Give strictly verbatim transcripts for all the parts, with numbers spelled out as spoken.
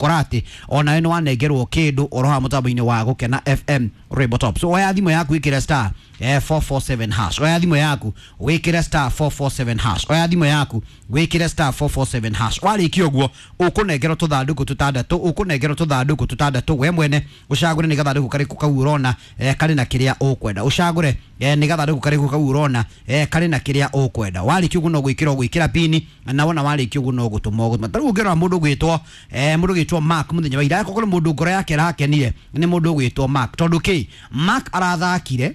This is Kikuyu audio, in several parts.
Korati ona nĩ wanengerwo kĩndũ oro ha mũtambo-inĩ wa Gũkena F M Rainbow Top. So oya thimũ yaku ĩkĩre star eh, four four seven hash. Oya thimũ yaku wĩkĩre star four four seven hash. Oya thimũ yaku wĩkĩre star four four seven hash. Warĩkia ũguo ũkũnengerwo tũthandũkũ tũtandatũ, ũkũnengerwo tũthandũkũ tũtandatũ, we mwene ũcagũre nĩ gathandũkũ karĩkũ kau ũrona eh, karĩ na kĩrĩa ũkwenda. Ũcagũre eh, nĩ gathandũkũ karĩkũ kau ũrona eh, karĩ na kĩrĩa ũkwenda. Warĩkia ũguo no gwĩkĩra ũgwĩkĩra pini, na wona warĩkia ũguo no gũtũma ũgũtũma. Ta rĩu ũngĩrora mũndũ ũgwĩtwo eh, mũndũ ũgwĩtwo Mark mũthenya wa ira, akorwo mũndũ ngoro yake ĩrakenire nĩ mũndũ ũgwĩtwo Mark, tondũ kĩ Mark arathakire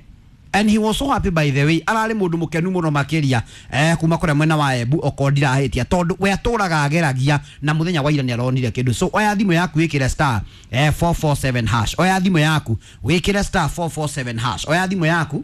and he was so happy by the way, ararĩ mũndũ mũkenu mũno makĩria eh, kuma kũrĩa mwena wa Embu okorwo ndirahĩtia, tondũ we atũraga ageragia na mũthenya wa ira nĩ aronire kĩndũ. So oya thimũ yaku wĩkĩre star eh, four four seven hash. Oya thimũ yaku wĩkĩre star four four seven hash. Oya thimũ yaku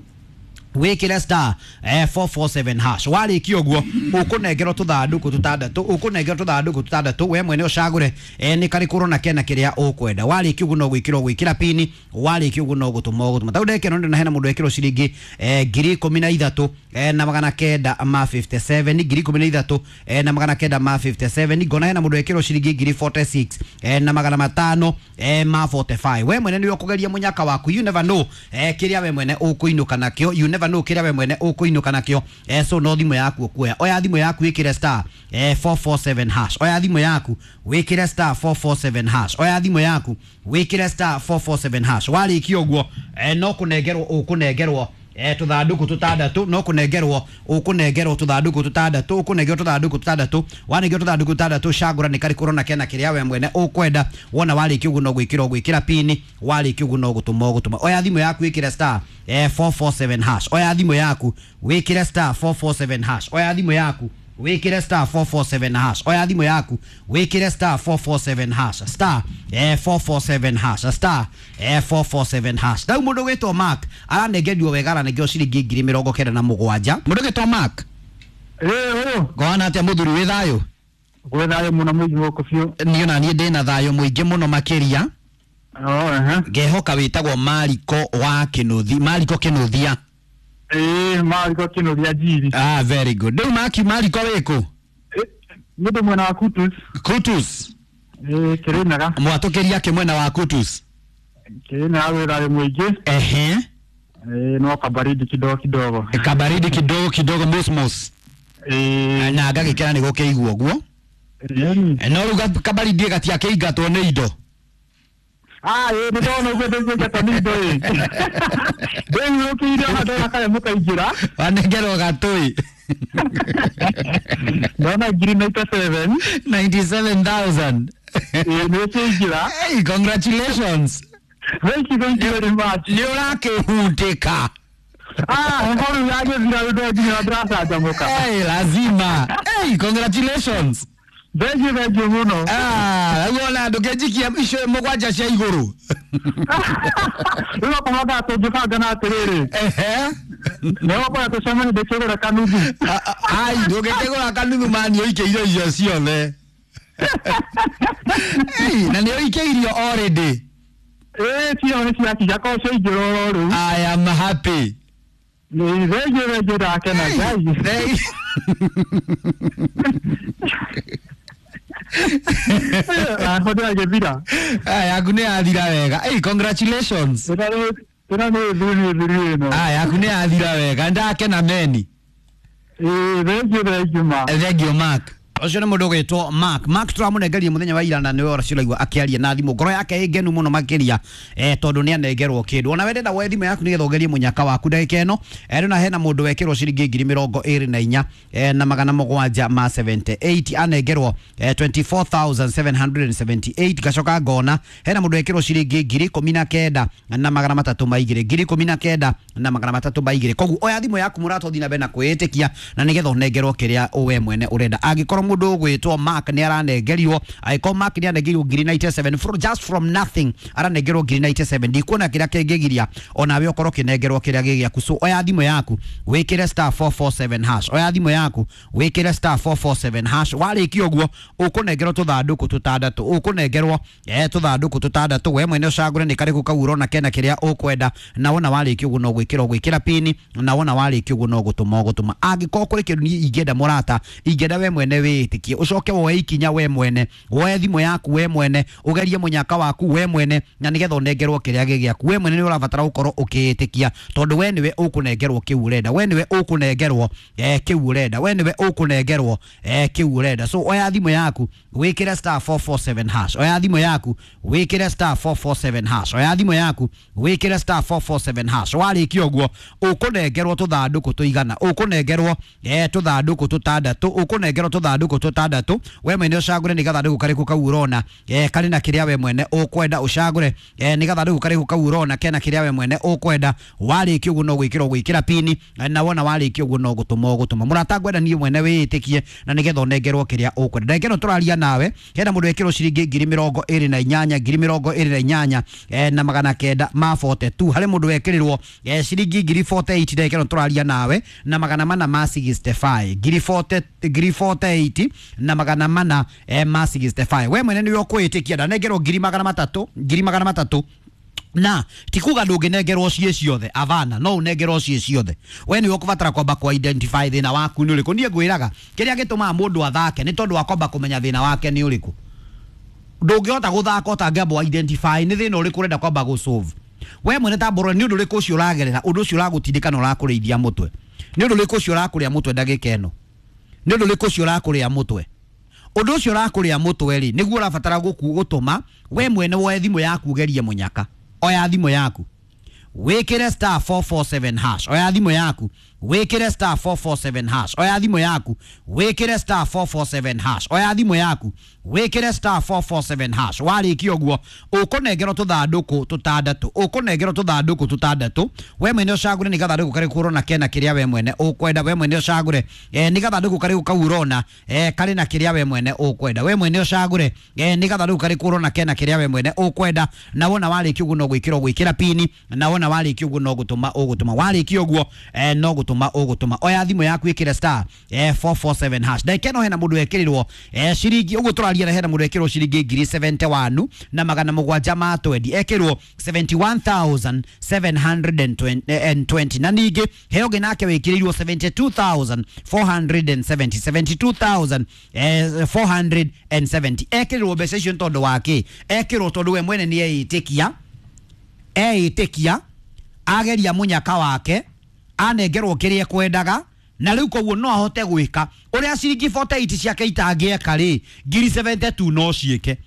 wĩkĩre star eh, four four seven hash. Warĩkia ũguo ũkũnengerwo tũthandũkũ tũtandatũ, ũkũnengerwo tũthandũkũ tũtandatũ, we mwene ũcagũre eh, nĩ karĩkũ ũrona kena kĩrĩa ũkwenda. Warĩkia ũguo no gwĩkĩra ũgwĩkĩra pini, warĩkia ũguo no gũtũma ũgũtũma. Tau ndekeno ndĩna hena mũndũ ekĩrwo ciringi eh, ngiri ikũmi na ithatũ eh, na magana kenda ma fifty seven, ngiri ikũmi na ithatũ eh, na magana kenda ma fifty seven. Ngona hena mũndũ ekĩrwo ciringi ngiri forty six eh, na magana matano eh, ma forty five. We mwene nĩwe ũkũgeria mũnyaka waku, you never know eh, kĩrĩa we mwene ũkũinũka nakĩo, you never know kĩrĩa we mwene ũkũinũka nakĩo eh, so no thimũ yaku ũkuoya. Oya thimũ yaku wĩkĩre star eh, four four seven hash. Oya thimũ yaku wĩkĩre star four four seven hash. Oya thimũ yaku wĩkĩre star four four seven hash. Warĩkia ũguo eh, no kũnengerwo ũkũnengerwo eh, tũthandũkũ tũtandatũ, no kũnengerwo ũkũnengerwo tũthandũkũ tũtandatũ, ũkũnengerwo tũthandũkũ tũtandatũ. Wanengerwo tũthandũkũ tũtandatũ, cagũra nĩ karĩkũ ũrona kena kĩrĩa we mwene ũkwenda. Wona warĩkia ũguo no gwĩkĩra ũgwĩkĩra pini, warĩkia ũguo no gũtũma ũgũtũma. Oya thimũ yaku wĩkĩre star eh, four four seven hash. Oya thimũ yaku wĩkĩre star four four seven hash. Oya thimũ yaku wĩkĩre star four four seven hash. Oya thimũ yaku wĩkĩre star four four seven hash. Star eh, four four seven hash. Star eh, four four seven hash. Rĩu mũndũ ũgwĩtwo Mark aranengerio wega, aranengerwo ciringi ngiri mĩrongo kenda na mũgwanja. Mũndũ ũgwĩtwo Mark, Ĩĩ, ũyũ. Ngona atĩa mũthuri, wĩ thayũ? Gwĩ thayũ mũno mũingĩ gũkũ biũ. Niĩ ona niĩ ndĩna thayũ mũingĩ mũno makĩria. Oh, ehe. Ngehoka wĩtagwo Mariko wa Kĩnũthi, Mariko Kĩnũthia. Ĩĩ, Mariko Kĩnũthia Njiri. Ah, very good. Rĩu Maki, Mariko wĩkũ? Nĩ ndĩ mwena wa Kutus. Kutus. Ĩĩ, Kĩrĩnyaga. Mwatũkĩria kĩ mwena wa Kutus? Kĩrĩnyaga gwĩ thayũ mũingĩ. Ehe. Ĩĩ, no kabaridi kidogo kidogo. Kabaridi kidogo kidogo, mosmos. Ĩĩ. Na ngagĩkena nĩ gũkĩigua ũguo. Ĩĩ. No rĩu kabaridi gatiakĩingatwo nĩ indo. Ah, ĩĩ, nĩ ndona ũguo ndĩngĩingatwo nĩ indo ĩ. Ndĩiyũkĩire ona ndona kanyamũ kaingĩra. Wanengerwo gatũi. Ndona ngiri ninety seven. Ninety seven thousand. Ĩĩ, nĩ ũkĩingĩra. Hey, congratulations. Thank you, thank you very much. Nĩ ũrakĩhutĩka. Ah, heho rĩu yagĩthira rĩu nginya ndĩracanjamũka. Hey, lazima. Hey, congratulations. Thank you, thank you mũno. Ah, rĩu ona ndũkĩnjikia icio mũgwanja cia igũrũ. Rĩu okorwo thaa tũngĩbanga na atĩrĩrĩ. Ehe. Nĩ gũkorwo tũcemanie ndĩkĩgũra kanuthu. Ai, ndũngĩkĩgũra kanuthu mani ũikĩire irio ciothe. Hey, na nĩ ũikĩirio already. Ĩĩ, cio nĩ ciakinya korwo ciaingĩra oro rĩu. I am happy. Nĩ thank you, thank you, ndakena Ngai. Hey. Aho ndĩragĩthira. Ah, yaku nĩ yathira wega. Hey, congratulations. Ĩno nĩ ĩno nĩ thuri thuri ĩno. Ah, yaku nĩ yathira wega. Ndakena meni. Ĩĩ, thank you, thank you ma. Thank you Mark. Ũcio nĩ mũndũ ũgwĩtwo Mark. Mark tũramũnengeria mũthenya wa ira na nĩwe ũraigua akĩaria na thimũ. Ngoro yake ĩ ngenu mũno makĩria eh, tondũ nĩ anengerwo kĩndũ. Ona we ndenda woe thimũ yaku nĩgetha ũgerie mũnyaka waku ndagĩka ĩno. Eh, rĩu hena mũndũ wekĩrwo ciringi ngiri mĩrongo ĩrĩ na inya eh, na magana mũgwanja ma seventy eight, anengerwo eh, twenty four thousand seven hundred and seventy eight. Ngacoka ngona hena mũndũ wekĩrwo ciringi ngiri ikũmi na kenda na magana matatũ ma igĩrĩ, ngiri ikũmi na kenda na magana matatũ ma igĩrĩ. Koguo oya thimũ yaku mũrata ũthiĩ na mbere na kwĩĩtĩkia na nĩgetha ũnengerwo kĩrĩa we mwene ũrenda. Angĩkorwo mũndũ ũgwĩtwo Mark nĩ aranengerio, angĩkorwo Mark nĩ anengerio ngiri ninety seven from, just from nothing aranengerwo ngiri ninety seven, ndikuona kĩrĩa kĩngĩgiria onawe ũkorwo ũkĩnengerwo kĩrĩa gĩ gĩaku. So oya thimũ yaku wĩkĩre star four four seven hash. Oya thimũ yaku wĩkĩre star four four seven hash. Warĩkia ũguo ũkũnengerwo tũthandũkũ tũtandatũ, ũkũnengerwo eh, tũthandũkũ tũtandatũ, we mwene ũcagũre nĩ karĩkũ kau ũrona kena kĩrĩa ũkwenda, na wona warĩkia ũguo no gwĩkĩra ũgwĩkĩra pini, na wona warĩkia ũguo no gũtũma ũgũtũma. Angĩkorwo kũrĩ kĩndũ niĩ ingĩenda mũrata, ingĩenda we mwene wĩke wĩĩtĩkie, ũcoke woe ikinya we mwene, woe thimũ yaku we mwene, ũgerie mũnyaka waku we mwene, na nĩgetha ũnengerwo kĩrĩa gĩ gĩaku. We mwene nĩ ũrabatara gũkorwo ũkĩĩtĩkia, tondũ we nĩwe ũkũnengerwo kĩu ũrenda, we nĩwe ũkũnengerwo eh, kĩu ũrenda, we nĩwe ũkũnengerwo eh, kĩu ũrenda. So oya thimũ yaku wĩkĩre star four four seven hash, oya thimũ yaku wĩkĩre star four four seven hash, oya thimũ yaku wĩkĩre star four four seven hash. Warĩkia ũguo ũkũnengerwo tũthandũkũ tũigana, ũkũnengerwo eh, tũthandũkũ tũtandatũ, ũkũnengerwo tũthandũkũ tũtandatũ. We mwene ũcagũre nĩ gathandũkũ karĩkũ kau ũrona eh, karĩ na kĩrĩa we mwene ũkwenda, ũcagũre eh, nĩ gathandũkũ karĩkũ kau ũrona kena kĩrĩa we mwene ũkwenda. Warĩkia ũguo no gwĩkĩra ũgwĩkĩra pini, na wona warĩkia ũguo no gũtũma ũgũtũma. Mũrata ngwenda niĩ mwene wĩĩtĩkie na nĩgetha ũnengerwo kĩrĩa ũkwenda. Ndagĩka ĩno tũraria nawe hena mũndũ wekĩrwo ciringi ngiri mĩrongo ĩrĩ na inyanya, ngiri mĩrongo ĩrĩ na inyanya eh, na magana kenda ma forty two. Harĩ mũndũ wekĩrĩrwo eh, ciringi ngiri forty eight ndagĩka ĩno tũraria nawe na magana mana ma sixty five, ngiri forty, ngiri forty eight na magana mana eh, ma sixty five. We mwene nĩwe ũkwĩĩtĩkia, ndanengerwo ngiri magana matatũ, ngiri magana matatũ na tikuga ndũngĩnengerwo ciĩ ciothe, avana no ũnengerwo ciĩ ciothe. We nĩwe ũkũbatara kwamba ku identify thĩna waku nĩ ũrĩkũ. Niĩ ngwĩraga kĩrĩa gĩtũmaga mũndũ athake nĩ tondũ wa kwamba kũmenya thĩna wake nĩ ũrĩkũ. Ndũngĩhota gũthaka ũtangĩamba identify nĩ thĩna ũrĩkũ ũrenda kwamba gũ solve. We mwene tambũra nĩ ũndũ ũrĩkũ ũcio ũragerera, ũndũ ũcio ũragũtindĩka na ũrakũrĩithia mũtwe, nĩ ũndũ ũrĩkũ ũcio ũrakũrĩa mũtwe ndagĩka ĩno, nĩ ũndũ ũrĩkũ ũcio ũrakũrĩa mũtwe, ũndũ ũcio ũrakũrĩa mũtwe rĩ nĩguo ũrabatara gũku gũtũma we mwene woe thimũ yaku ũgerie mũnyaka. Oya thimũ yaku wĩkĩre star four four seven hash, oya thimũ yaku wĩkĩre star four four seven hash, oya thimũ yaku wĩkĩre star four four seven hash, oya thimũ yaku wĩkĩre star four four seven hash. Warĩkia ũguo ũkũnengerwo tũthandũkũ tũtandatũ, ũkũnengerwo tũthandũkũ tũtandatũ. We mwene ũcagũre nĩ gathandũkũ karĩkũ ũrona kena kĩrĩa we mwene ũkwenda. We mwene ũcagũre eh, nĩ gathandũkũ karĩkũ kau ũrona eh, karĩ na kĩrĩa we mwene ũkwenda. We mwene ũcagũre eh, nĩ gathandũkũ karĩkũ ũrona kena kĩrĩa we mwene ũkwenda. Na wona warĩkia ũguo no gwĩkĩra ũgwĩkĩra pini, na wona warĩkia ũguo no gũtũma ũgũtũma. Warĩkia ũguo eh, no gũtũma ũgũtũma. Oya thimũ yaku ĩkĩre star eh, four four seven hash. Ndagĩka ĩno hena mũndũ wekĩrĩrwo eh, ciringi ũguo tũraria na hena mũndũ wekĩrĩrwo ciringi ngiri seventy one na magana mũgwanja ma twendi, ekĩrwo seventy one thousand seven hundred and twenty, na ningĩ he ũngĩ nake wĩkĩrĩirwo seventy two thousand four hundred and seventy, seventy two thousand four hundred and seventy. Ekĩrĩrwo mbeca icio nĩ tondũ wa kĩ? Ekĩrwo tondũ we mwene nĩ eĩtĩkia, eĩtĩkia ageria mũnyaka wake anengerwo kĩrĩa ekwendaga, na rĩu koguo no ahote gwĩka ũrĩa ciringi forty eight ciake itangĩeka rĩ, ngiri seventy two no ciĩke,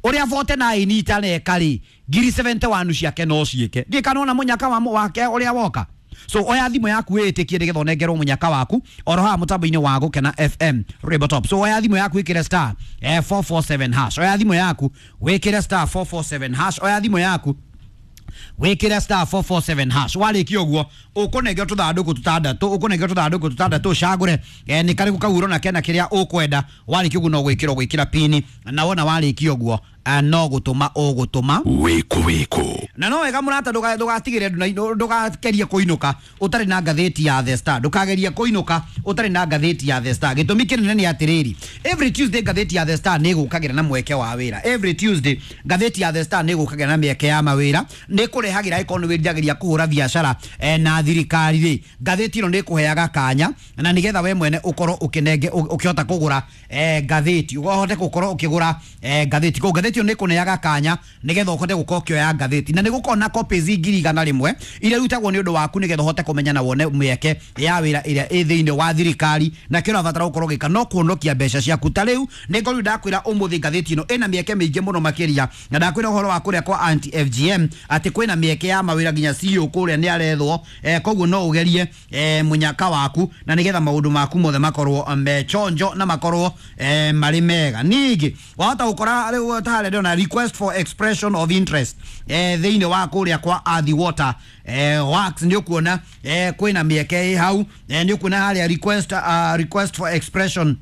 ũrĩa forty nine itareka rĩ, ngiri seventy one ciake no ciĩke. Ndiĩ kana ona mũnyaka wa wake ũrĩa woka. So oya thimũ yaku wĩĩtĩkie nĩgetha ũnengerwo mũnyaka waku oro haha mũtambo-inĩ wa Gũkena F M Rainbow Top. So oya thimũ yaku wĩkĩre star eh, four four seven hash, oya thimũ yaku wĩkĩre star four four seven hash, oya thimũ yaku wĩkĩre star four four seven hash. Warĩkia ũguo ũkũnengerwo tũthandũkũ tũtandatũ, ũkũnengerwo tũthandũkũ tũtandatũ, ũcagũre eh, nĩ karĩkũ kau ũrona kena kĩrĩa ũkwenda. Warĩkia ũguo no gwĩkĩra ũgwĩkĩra pini, na wona warĩkia ũguo no gũtũma ũgũtũma. Wĩkũ wĩkũ. Na no wega mũrata, ndũgatigĩre ndũgagerie kũinũka ũtarĩ na ngathĩti ya The Star, ndũkagerie kũinũka ũtarĩ na ngathĩti ya The Star. Gĩtũmi kĩnene nĩ atĩrĩrĩ, every Tuesday ngathĩti ya The Star nĩ ĩgũkagĩra na mweke wa wĩra. Every Tuesday ngathĩti ya The Star nĩ ĩgũkagĩra na mĩeke ya mawĩra, nĩ ĩkũrehagĩra ĩkorwo nĩ wĩriragĩria kũhũra biacara eh, na thirikari rĩ, ngathĩti ĩno nĩ ĩkũheaga kanya na nĩgetha we mwene ũkorwo ũkĩnenge ũkĩhota kũgũra eh, ngathĩti, ũhote gũkorwo ũkĩgũra eh, ngathĩti. Koguo ngathĩti ĩyo nĩ ĩkũneaga kanya nĩgetha ũhote gũkorwo ũkĩoya ngathĩti, na nĩ gũkorwo na copies ngiri igana rĩmwe iria irutagwo nĩ ũndũ waku nĩgetha ũhote kũmenya na wone mĩeke ya wĩra ĩrĩa ĩ thĩinĩ wa thirikari, na kĩrĩa ũrabatara gũkorwo ũgĩka no kũhonokia mbeca ciaku. Ta rĩu nĩ ngorwo ndakwĩra ũmũthĩ ngathĩti ĩno ĩna mĩeke mĩingĩ mũno makĩria, na ndakwĩra ũhoro wa kũrĩa kwa anti F G M atĩ kwĩna mĩeke ya mawĩra nginya C E O kũrĩa nĩ arethwo, eh, koguo no ũgerie eh, mũnyaka waku na nĩgetha maũndũ maku mothe makorwo mechonjo na makorwo eh, marĩ mega. Ningĩ wahota gũkora rĩu tarĩ ndĩrona request for expression of interest eh, thĩinĩ wa kũrĩa kwa Athi Water eh, Works, nĩ ũkuona eh, kwĩna mĩeke ĩ hau, eh, nĩ ũkuona harĩa request, uh, request for expression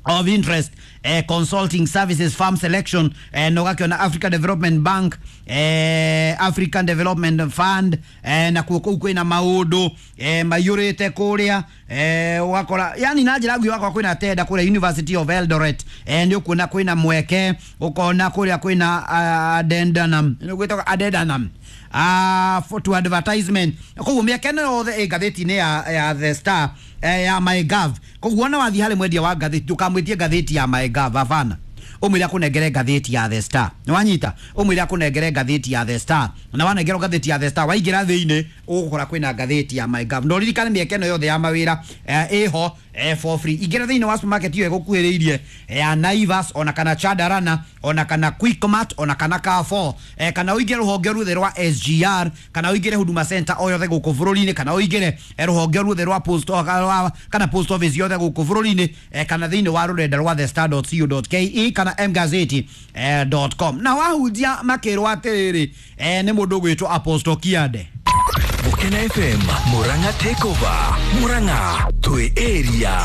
of interest eh, consulting services farm selection eh, na ũgakĩona Africa Development Bank eh, African Development Fund eh, na kuo kũu kwĩna maũndũ eh, maiyũrĩte kũrĩa eh, ũgakora yani na njĩra nguhĩ ũgakora kwĩna tenda kũrĩa University of Eldoret eh, nĩ ũkuona kwĩna mweke, ũkona kũrĩa kwĩna uh, Adendanam, nĩ gwĩtagwo Adendanam uh, for to advertisement. Koguo mĩaka ĩno yothe ĩ ngathĩti-inĩ ya, ya The Star, eh, ya MyGov. Koguo ona wathiĩ harĩ mwendia wa ngathĩti, ndũkamwĩtie ngathĩti ya MyGov, hapana, umwire akunengere ngathĩti ya The Star. Nĩwanyita? Umwire akunengere ngathĩti ya The Star, na wanengerwo ngathĩti ya The Star, waingĩra thĩinĩ ũgũkora kwĩna ngathĩti ya MyGov. Na ũririkane mĩeke ĩno yothe ya mawĩra eh, ĩho eh, for free. Ingĩra thĩinĩ wa supermarket ĩyo ĩgũkuhĩrĩirie ya Naivas, ona kana Chandarana, ona kana Quickmart, ona kana Carrefour, eh, kana ũingĩre rũhonge ruothe rwa S G R, kana ũingĩre Huduma Center o yothe gũkũ bũrũri-inĩ, kana ũingĩre eh, rũhonge ruothe rwa post rwa- kana post office yothe gũkũ bũrũri-inĩ, eh, kana thĩinĩ wa rũrenda rwa thestar dot co dot ke kana mgazeti dot com. Na wahunjia makĩrwo atĩrĩrĩ, eh, nĩ mũndũ ũgwĩtwo Apostle Kiande. Gukena F M Murang'a Takeover, Murang'a twi area.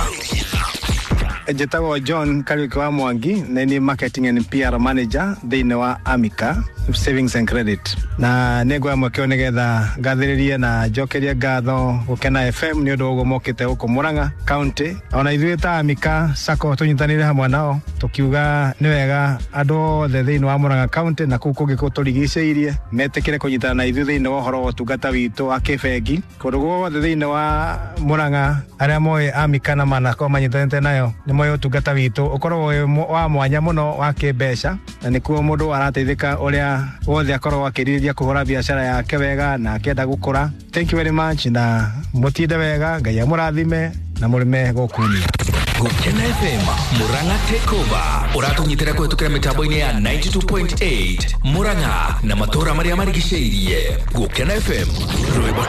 Njĩtagwo John Kariuki wa Mwangi na nĩ marketing and P R manager thĩinĩ wa Amica Savings and Credit, na nĩ nguoya mweke ũyũ nĩgetha ngathĩrĩrie na njokerie ngatho Gũkena F M nĩ ũndũ wa ũguo mokĩte gũkũ Murang'a County. Ona ithuĩ ta Amica Sacco tũnyitanĩire hamwe nao tũkiuga nĩ wega andũ othe thĩinĩ wa Murang'a County na kũu kũngĩ tũrigicĩirie metĩkĩre kũnyitana na ithuĩ thĩinĩ wa ũhoro wa ũtungata witũ wa kĩbengi kũndũ guothe thĩinĩ wa Murang'a. Arĩa moĩ Amica na manakorwo manyitanĩte nayo nĩ moĩ ũtungata witũ ũkoragwo wĩ mũ- wa mwanya mũno wa kĩmbeca, na nĩkuo mũndũ arateithĩka ũrĩa wothe akoragwo akĩrirĩria kũhũra biacara yake wega na akĩenda gũkũra. Thank you very much, na mũtinde wega, Ngai amũrathime na mũrĩme gũkunia. Gukena F M Murang'a Takeover ũratũnyitĩra kũhetũkĩra mĩtambo-inĩ ya ninety-two point eight Murang'a na matũũra marĩa marigicĩirie. Gukena F M, rwĩmbo.